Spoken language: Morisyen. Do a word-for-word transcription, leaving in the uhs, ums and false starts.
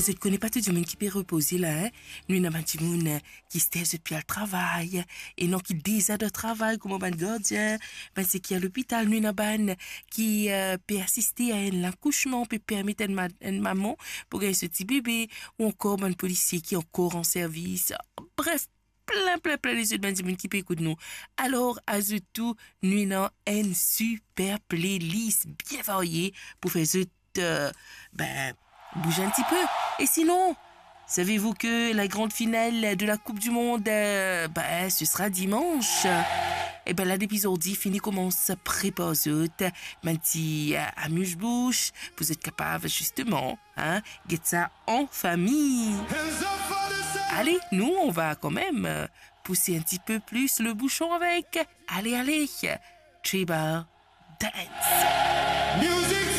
Zot kone pa tou dimoun ki pe repoze la, hein? Nou ena bann dimoun, eh, ki ster zot pe al travay, e non ki deza dan travay, kouma bann gardien, bann seki a lopital, nou ena bann ki, eh, pe asiste a enn lakousman, pe permet enn ma-, enn mama pou gagn so ti bebe, ou ankor bann polisie ki ankor an servis. Bref, plin, plin, plin lezot bann dimoun ki pe ekout nou. Alor, azout tou, nou ena enn siper playlist bien varye pou fer zot, eh, ben, bouze enn ti pe. E sinon, savez-vous que la grande finale de la Coupe du Monde, eh, ben, ce sera dimanche? E ben la, depi zordi, fini koumans prepar zot bann ti, eh, amiz bouch, pou zot kapav, zisteman, hein, get sa an fami. Ale, nou, on va kanmem, eh, pouse enn ti pe plis le bouchon avek, ale, ale, Tribal Dance. Music